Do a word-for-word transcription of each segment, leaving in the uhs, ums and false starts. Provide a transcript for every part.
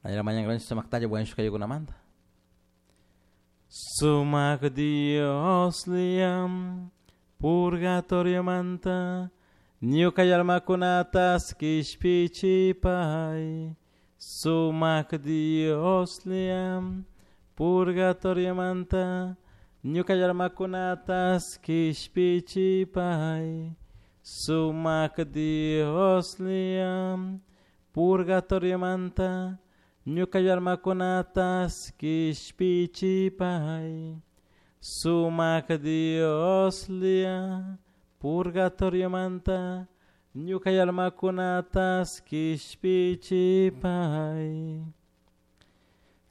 Mañana sumaktalla wañushkaykunamanta. Sumak Dios liam purgatoriomanta ñuka almakunatas kishpichipay. Sumak Dios liam purgatoriomanta ñuka almakunatas kishpichipay. Sumak Dios liam purgatoriomanta ñuka almakunatas kishpichipay. Sumak Dios lia purgatoriomanta ñuka almakunatas kishpichipay.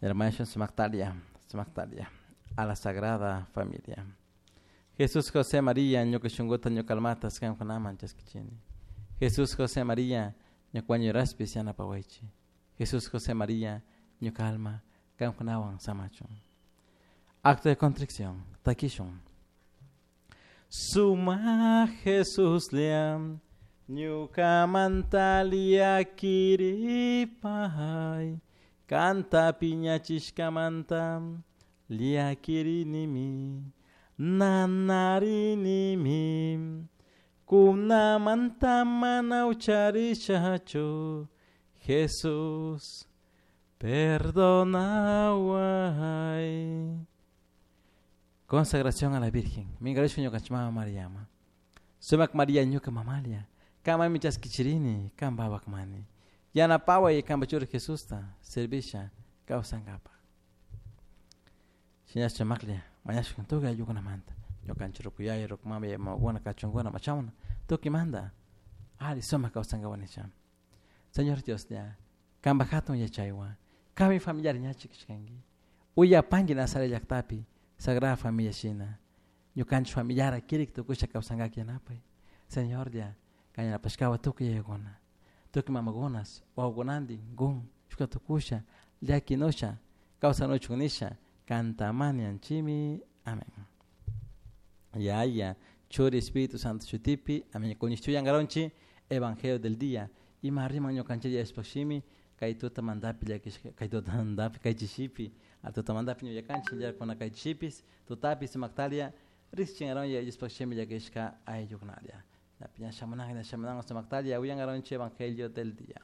Hermanos sumaktalia, sumaktalia a la Sagrada Familia. Jesús José María ñuka shunkuta ñuka almatas kankunaman chaskichini. Jesús José María ñuka wañuraspis yanapawaychi. Jesús José María ñuka alma kankunawan samachun. Acto de contrición, takishun. Suma Jesús liam ñukamanta llakiripay. Kanta piñachishkamanta llakirinimi, nanarinimi. Kunamanta mana ucharishachu, Jesús, perdonaway. Consagración a la Virgen. Mingarishka ñukanchik mama Mariama. Sumak María ñuka mamalia. Kamami chaskichirini, kanpapakmani. Yanapaway kanpa churi Jesusta, servisha kawsankapaj. Shinash maklia, mañashka tukuy ayllukunamanta. Ñukanchik rukuyaya, rukumama, mamakuna, kachunkuna, machawna, tukymanta. Ali sumak kawsankapak nisha. Señor Dios ya, kanpak hatun yachaywan, kanmi familiar ñachik kashkanki. Uyapanki Nazaret llaktapi, Sagrada Familia shina. Ñukanchik familiara kirik tukusha kawsankak yanapay. Señor ya, kan yanapashkawan tukuy yayakuna, tukuy mamakunas, wawakunantin, kun, shukta tukusha, llakinusha, kawsanuchun nisha, kantamani anchimi. Amén. Yaya, Churi Espíritu Santo shutipi, amén. Kuñishtuyankaronchi, Evangelio del día. Ima riman ñukanchik Diospaj shimi, kay tutamantapi llakishka, kay tutamantapi kay chishipi, a tutamantapi ñullakanchik llakuna kay chishipis, tutapi sumaktalia, riqsichinkaron Diospaj shimi llakishka ayllukunalla. Ña shamunanka, ña shamunanka sumaktalia, uyankaronchik Evangelio del día.